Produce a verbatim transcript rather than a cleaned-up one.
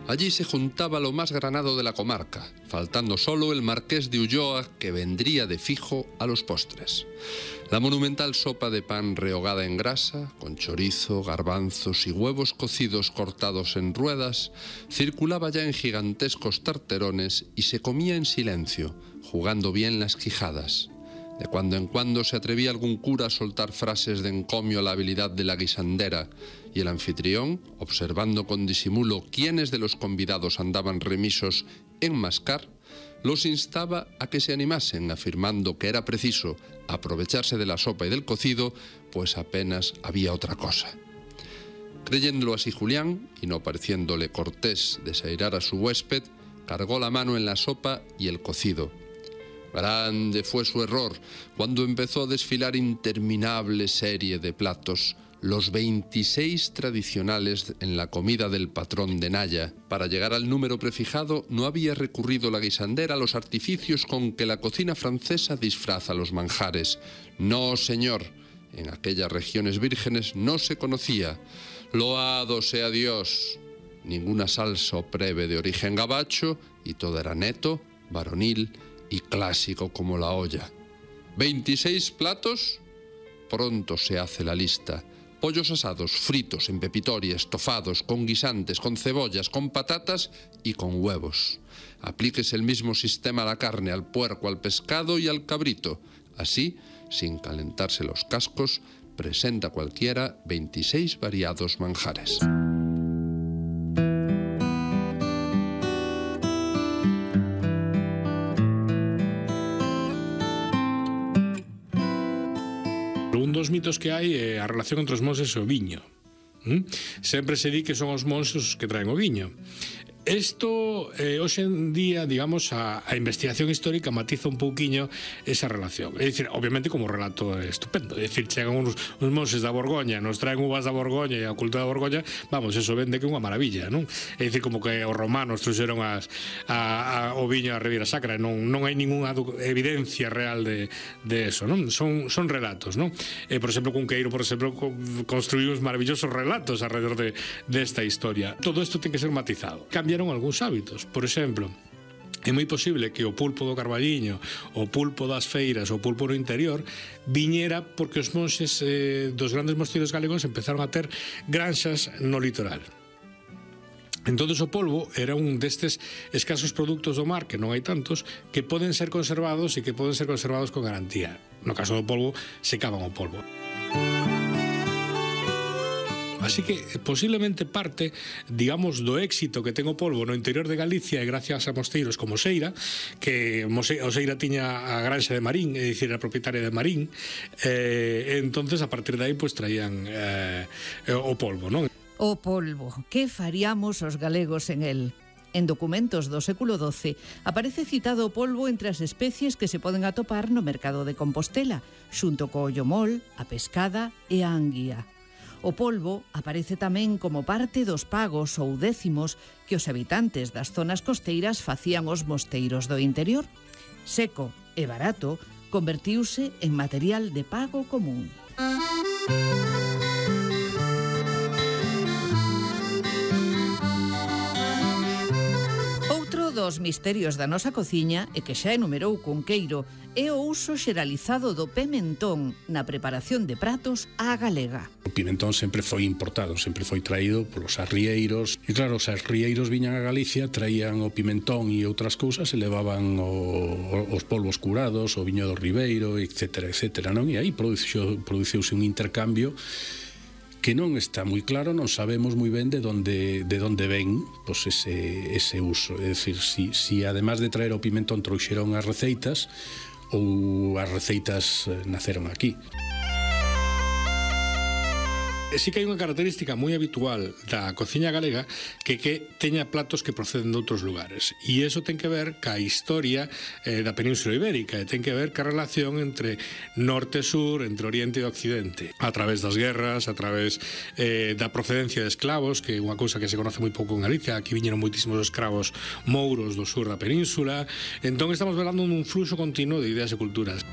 Allí se juntaba lo más granado de la comarca, faltando solo el marqués de Ulloa, que vendría de fijo a los postres. La monumental sopa de pan rehogada en grasa, con chorizo, garbanzos y huevos cocidos cortados en ruedas, circulaba ya en gigantescos tarterones y se comía en silencio, jugando bien las quijadas. De cuando en cuando se atrevía algún cura a soltar frases de encomio a la habilidad de la guisandera, y el anfitrión, observando con disimulo quiénes de los convidados andaban remisos en mascar, los instaba a que se animasen, afirmando que era preciso aprovecharse de la sopa y del cocido, pues apenas había otra cosa. Creyéndolo así Julián, y no pareciéndole cortés desairar a su huésped, cargó la mano en la sopa y el cocido. Grande fue su error cuando empezó a desfilar interminable serie de platos, los veintiséis tradicionales en la comida del patrón de Naya. Para llegar al número prefijado no había recurrido la guisandera a los artificios con que la cocina francesa disfraza los manjares. No, señor, en aquellas regiones vírgenes no se conocía. Loado sea Dios. Ninguna salsa o preve de origen gabacho, y todo era neto, varonil y clásico como la olla. ¿veintiséis platos? Pronto se hace la lista. Pollos asados, fritos, en pepitoria, estofados, con guisantes, con cebollas, con patatas y con huevos. Aplíquese el mismo sistema a la carne, al puerco, al pescado y al cabrito. Así, sin calentarse los cascos, presenta cualquiera veintiséis variados manjares. Un dos mitos que hai é a relación entre os monxes e o viño. ¿Mm? Sempre se di que son os monxes os que traen o viño. Isto, eh, hoxe en día, digamos, a, a investigación histórica matiza un pouquiño esa relación. É dicir, obviamente, como relato é estupendo. É dicir, chegan uns, uns monxes da Borgoña, nos traen uvas da Borgoña e a cultura da Borgoña, vamos, eso vende que é unha maravilla, non? É dicir, como que os romanos trouxeron as, a, a, o viño a Ribeira Sacra, non, non hai ninguna evidencia real de, de eso, non? Son, son relatos, non? E, por exemplo, Cunqueiro, por exemplo, construiu uns maravillosos relatos alrededor de, de esta historia. Todo isto ten que ser matizado. Cambia algúns hábitos. Por exemplo, é moi posible que o pulpo do Carballiño, o pulpo das feiras, o pulpo no interior viñera porque os monxes eh, dos grandes mosteiros galegos empezaron a ter granxas no litoral. Entón, o polvo era un destes escasos produtos do mar, que non hai tantos, que poden ser conservados e que poden ser conservados con garantía. No caso do polvo, secaban o polvo. Así que posiblemente parte, digamos, do éxito que ten o polvo no interior de Galicia e gracias a mosteiros como Seira, que o Seira tiña a granxa de Marín, é dicir, a propietaria de Marín, e entonces a partir de aí pues traían eh, o polvo, non? O polvo, que faríamos os galegos en el? En documentos do século doce aparece citado o polvo entre as especies que se poden atopar no mercado de Compostela, xunto co ollomol, a pescada e a anguía. O polvo aparece tamén como parte dos pagos ou décimos que os habitantes das zonas costeiras facían aos mosteiros do interior. Seco e barato, convertiuse en material de pago común. Dos misterios da nosa cociña e que xa enumerou Cunqueiro é o uso xeralizado do pimentón na preparación de pratos á galega. O pimentón sempre foi importado, sempre foi traído polos arrieiros e claro, os arrieiros viñan a Galicia, traían o pimentón e outras cousas e levaban o, os polvos curados, o viño do Ribeiro, etcétera, etcétera, non? E aí produciuse un intercambio que non está moi claro, non sabemos moi ben de onde de onde ven pois ese ese uso, é dicir, si si además de traer o pimentón trouxeron as receitas ou as receitas naceron aquí. Sí que hai unha característica moi habitual da cociña galega que que teña platos que proceden de outros lugares e iso ten que ver ca historia eh, da Península Ibérica e ten que ver ca relación entre norte e sur, entre oriente e occidente a través das guerras, a través eh, da procedencia de esclavos, que é unha cousa que se conoce moi pouco en Galicia. Aquí viñeron moitísimos escravos mouros do sur da península. Entón estamos falando dun fluxo continuo de ideas e culturas.